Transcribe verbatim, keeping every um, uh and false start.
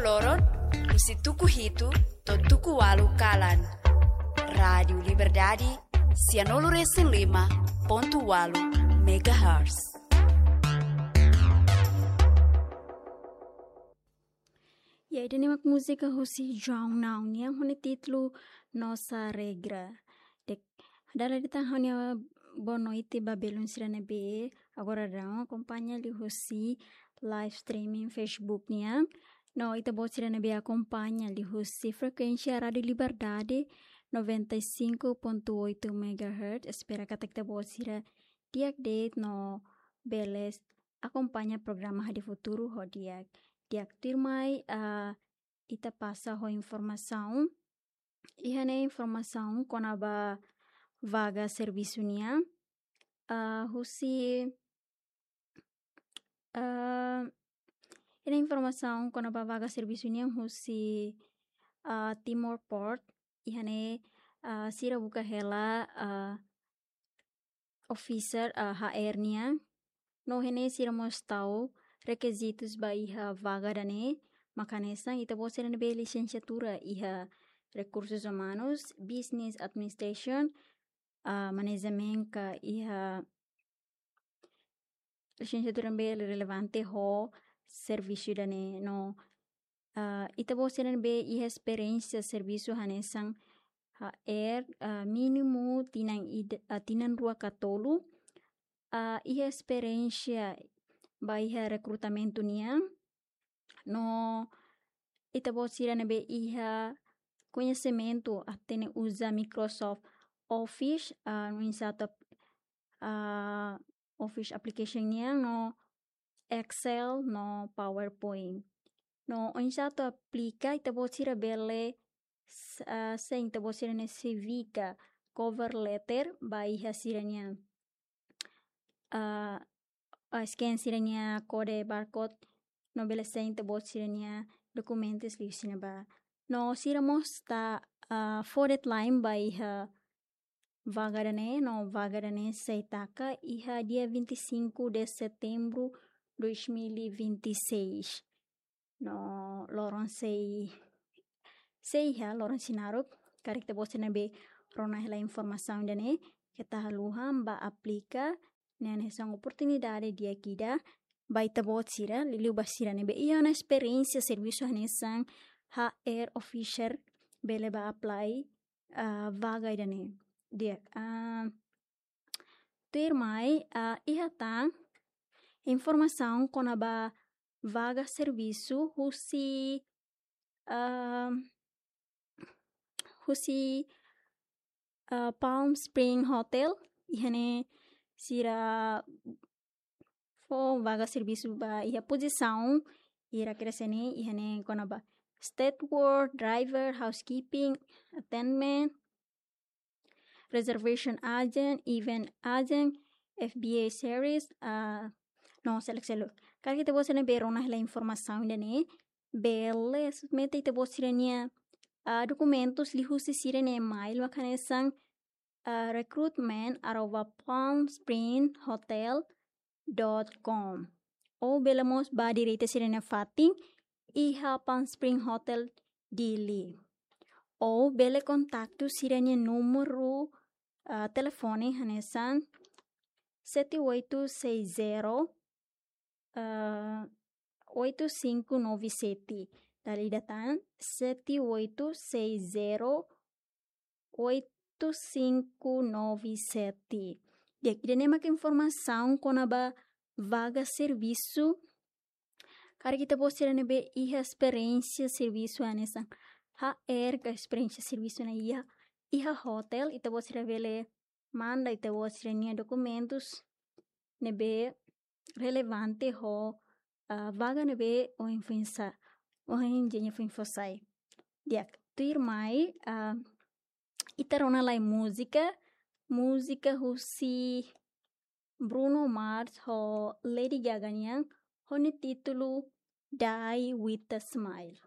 Loron, husi tuku hitu to'o tuku ualu kalan. Rádiu Liberdade, sianulu resin lima pontu ualu megahertz. Ya, ida-ne'e mak múzika husi João Nau nian ho nia títulu Nossa Regra. Dek, dala ida tan ha'u-nia boa noite ba belun sira ne'ebé agora daudaun akompaña liuhusi live streaming Facebook nian. No ita-boot sira ne'ebé akompaña liuhusi frekuénsia Rádiu Liberdade noventa e cinco ponto oito megahertz. Espera katak ita-boot sira di'ak de'it no bele akompaña programa Hadi Futuru ho di'ak. Di'ak, tuirmai, ah, ita pasa ho informasaun. Iha ne'e informasaun kona-ba vaga servisu nian. Ah, husi, ah, iha ne'e informasaun kona-ba vaga servisu nian husi, ah, Timor Port. Iha ne'e, ah, sira buka hela, ah, officer, ah, H R nian. No iha ne'e sira mós tau rekizitus ba iha vaga ida-ne'e, mak hanesan ita-boot sira ne'ebé lisensiatura iha Rekursus Umanus, Business Administration, ah, Management ka iha lisensiatura ne'ebé relevante ho servisu ida-ne'e no, ah, ita-boot sira ne'ebé iha esperiénsia servisu hanesan H R, ah, mínimu tinan ida, ah, tinan rua ka tolu, ah, iha esperiénsia ba iha rekrutamentu nian, no ita-boot sira ne'ebé iha koñesimentu hatene uza Microsoft Office, ah, no oinsá atu, ah, Office application nian no Excel no PowerPoint. No oinsá atu aplika, ita-boot sira bele s-, ah, send ita-boot sira-nia C V ka cover letter ba iha sira-nia, ah, ah, scan sira-nia kode barcode no bele send ita-boot sira-nia dokumentus liuhusi ne'ebá. No sira mós tau, ah, fó deadline ba iha vaga ida-ne'e, no vaga ida-ne'e sei taka iha dia vinte e cinco de setembro dois mil e vinte e seis. No loron sei, sei iha loron sei naruk, karik ita-boot sira ne'ebé rona hela informasaun ida-ne'e, keta haluha bá aplika, ne'e hanesan oportunidade di'ak ida ba ita-boot sira, liuliu ba sira ne'ebé iha ona esperiénsia servisu hanesan H R officer bele bá apply, ah, vaga ida-ne'e. Di'ak, ah, tuirmai, ah, iha tan informasaun kona-ba vaga servisu husi, ah, husi, ah, Palm Spring Hotel, iha ne'e sira fó vaga servisu ba iha pozisaun ida-ne'e, iha ne'e kona-ba steward, driver, housekeeping, attendant, reservation agent, event agent, F B A service, ah, no seluk-seluk. Karik ita-boot sira ne'ebé rona hela informasaun ida-ne'e, bele submete ita-boot sira-nia, ah, dokumentus liuhusi sira-nia email mak hanesan, ah, recruitment arroba palm spring hotel dot com. Ou bele mós bá direta sira-nia fatin iha Palm Spring Hotel Dili. Ou bele kontaktu sira-nia númeru, ah, telefone hanesan sete oito seis zero, ah, oito cinco nove sete. Dala ida tan, sete oito seis zero oito cinco nove sete. Di'ak, ida-ne'e mak informasaun kona-ba vaga servisu. Karik ita-boot sira ne'ebé iha esperiénsia servisu hanesan H R ka esperiénsia servisu iha, iha hotel, ita-boot sira bele manda ita-boot sira-nia dokumentus ne'ebé relevante ho, ah, vaga ne'ebé ohin foin sa-, ohin ita-nia foin fó sai. Di'ak, tuirmai, ah, ita rona lai múzika, múzika husi Bruno Mars ho Lady Gaga nian, ho nia títulu Die with a Smile.